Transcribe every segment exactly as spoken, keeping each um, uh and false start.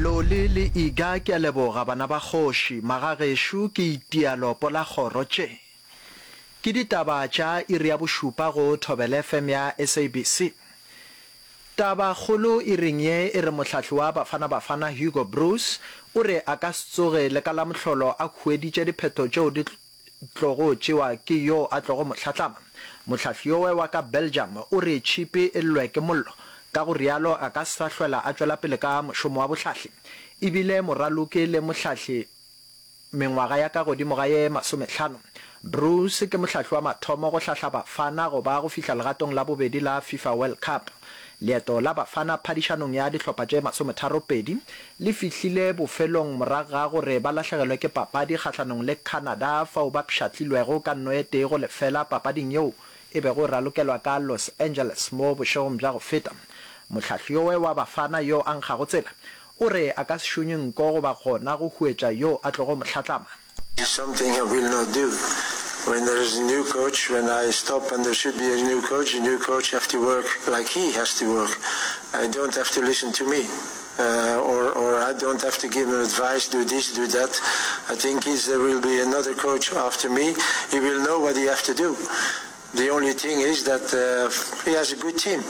Loli le Iga ke a leboga bana ba kgoši, magagešo ke itia lopo la kgoro tše. Ke ditaba tša iri ya bošupa go Thobela F M ya S A B C. Taba kgolo iring ye e re mohlahli wa Bafana Bafana Hugo Broos o re a ka se tsoge le ka la mohlolo a hueditše diphetho tšeo di tlogo tšewa ke yo a tlogo mo hlatlama. Mohlahli yowe wa ka Belgium o re tšhipi e llwe ke mollo, ka go rialo a ka se sa hlwela a tšwela pele ka mošomo wa bohlahli. E bile moraloki le mohlahli mengwaga ya ka godimo ga ye masomehlano. Broos ke mohlahli wa mathomo go hlahla Bafana go ba go fihla legatong la bobedi la FIFA World Cup. Leeto la Bafana phadišanong ya dihlopha tše masometharopedi le fihlile bofelong morago ga gore ba lahlegelwe ke papadi kgahlanong le Canada fao ba pšhatlilwego ka nno e tee go lefela papading yeo e bego e ralokelwa ka Los Angeles mo bošegong bja go feta. Mohlahli yowe wa Bafana yo a nkgago tsela o re a ka se šonye nko goba gona go huetša yo a tlogo mo hlatlama. Is something I will not do. When there is a new coach, when I stop and there should be a new coach, the new coach have to work like he has to work. I don't have to listen to me. Uh, or, or I don't have to give him advice, do this, do that. I think if there will be another coach after me, he will know what he have to do. The only thing is that uh, he has a good team,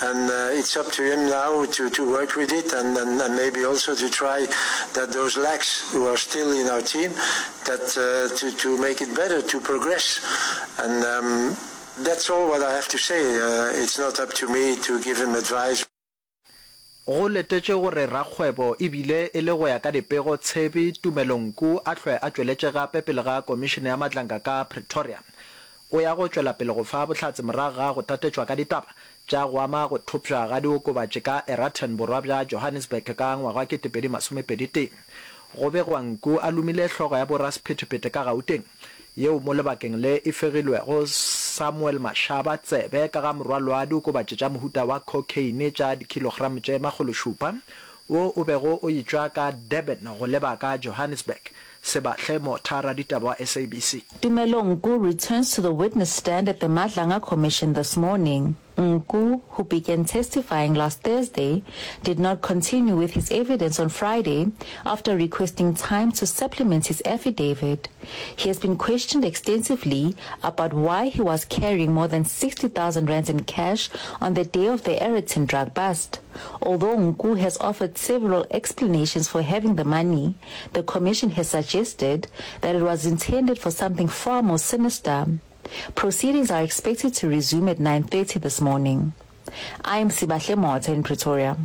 and uh, it's up to him now to, to work with it and, and, and maybe also to try that those lacks who are still in our team, that uh, to, to make it better, to progress. And um, that's all what I have to say. Uh, it's not up to me to give him advice. Go letetšwe gore rakgwebo e bile e le go ya ka dipego Tshebi Tumelo Nku a hlwe a tšweletše gape pele ga Komišene ya Madlanga ka Pretoria. O ya go tšwela pele go fa bohlatse morago ga go tatetšwa ka ditaba tša go ama go thopša ga diokobatši ka Eraton borwa bja Johannesburg ka ngwaga wa ketepedi masomepedi tee. Go begwa Nku a lomile hlogo ya borasephethephethe ka Gauteng yeo mo lebakeng le e fegilwego Samuel Mashaba tsebe ka ga morwalo wa diokobatši tša mohuta wa cocaine tša dikhilogramo tše makgološupa wo o bego o etšwa ka Durban go leba ka Johannesburg. Sebahle Motha, raditaba wa S A B C. Tumelo Nku returns to the witness stand at the Madlanga Commission this morning. Nku, who began testifying last Thursday, did not continue with his evidence on Friday after requesting time to supplement his affidavit. He has been questioned extensively about why he was carrying more than sixty thousand rands in cash on the day of the Aeroton drug bust. Although Nku has offered several explanations for having the money, the commission has suggested that it was intended for something far more sinister. Proceedings are expected to resume at nine thirty this morning. I am Sibahle Motha in Pretoria.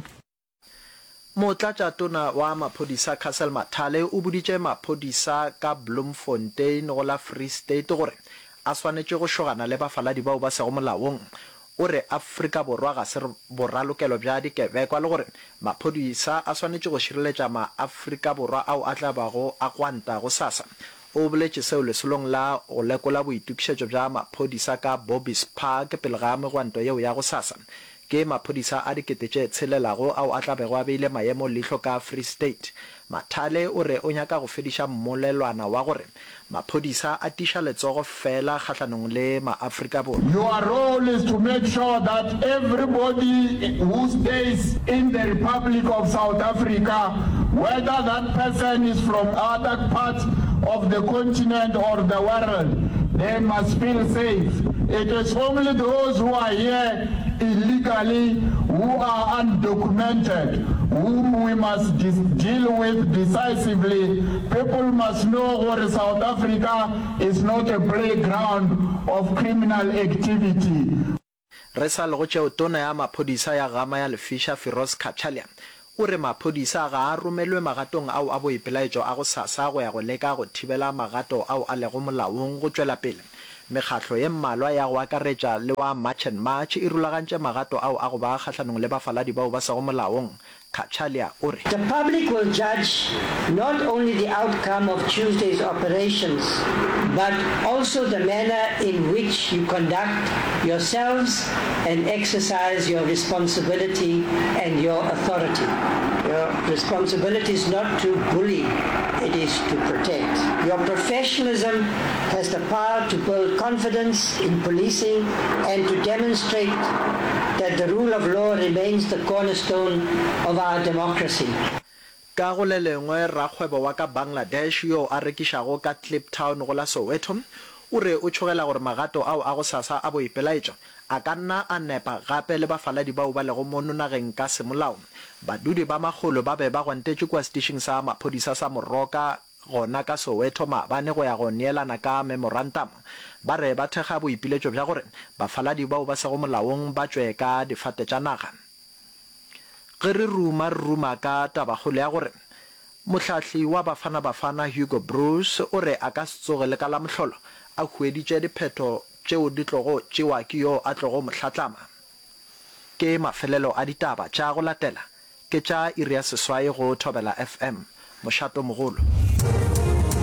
Motlatšatona wa maphodisa Cassel Mathale o boditše maphodisa ka Bloemfontein go la Free State gore a swanetše go šogana le bafaladi bao ba sego molaong. O re Afrika Borwa ga se boralokelo bja dikebekwa le gore maphodisa a swanetše go šireletša maAfrika Borwa ao a tla bago a gwanta gosasa. O boletše seo lesolong la go lekola boitokišetšo bja maphodisa ka Bobbies Park pele ga megwanto yeo ya gosasa. Ke maphodisa a dikete tše tshelelago ao a tla bego a beile maemo leihlo ka Free State. Mathale o re o nyaka go fediša mmolelwana wa gore maphodisa a tiša letsogo fela kgahlanong le maAfrika Borwa. Your role is to make sure that everybody who stays in the Republic of South Africa, whether that person is from other parts of the continent or the world, they must feel safe. It is only those who are here illegally, who are undocumented, whom we must deal with decisively. People must know that South Africa is not a playground of criminal activity. Re sa le go tšeo, tona ya maphodisa ya Gama ya Lefiša Firoz Cachalia o re maphodisa ga a romelwe magatong ao a boipelaetšo a gosasa go ya go leka go thibela magato ao a lego molaong go tšwela pele. Mekgatlo ye mmalwa ya go akaretša le wa March and March e rulagantše magato ao a go ba kgahlanong le bafaladi bao ba sego molaong. Cachalia o re. The public will judge not only the outcome of Tuesday's operations, but also the manner in which you conduct yourselves and exercise your responsibility and your authority. Your responsibility is not to bully, it is to protect. Your professionalism has the power to build confidence in policing and to demonstrate that the rule of law remains the cornerstone of our democracy. Ka go le lengwe, rakgwebo wa ka Bangladesh yo a rekišago ka Kliptown go la Soweto o re o tšhogela gore magato ao a gosasa a boipelaetšo a ka nna a nepa gape le bafaladi bao ba lego mono nageng ka semolao. Badudi ba makgolo ba be ba gwantetše kua setišing sa maphodisa sa Moroka gona ka Soweto maabane go ya go neelana ka memorantamo. Ba re ba thekga boipiletšo bja gore bafaladi bao ba sego molaong ba tšwe ka difate tša naga. Ge re ruma re ruma ka tabakgolo ya gore mohlahli wa Bafana Bafana Hugo Broos o re a ka se tsoge le ka la mohlolo a hueditše diphetho tšeo di tlogo tšewa ke yo a tlogo mo hlatlama. Ke mafelelo a ditaba tša go latela ke tša iri ya seswai go Thobela F M, mošatomogolo.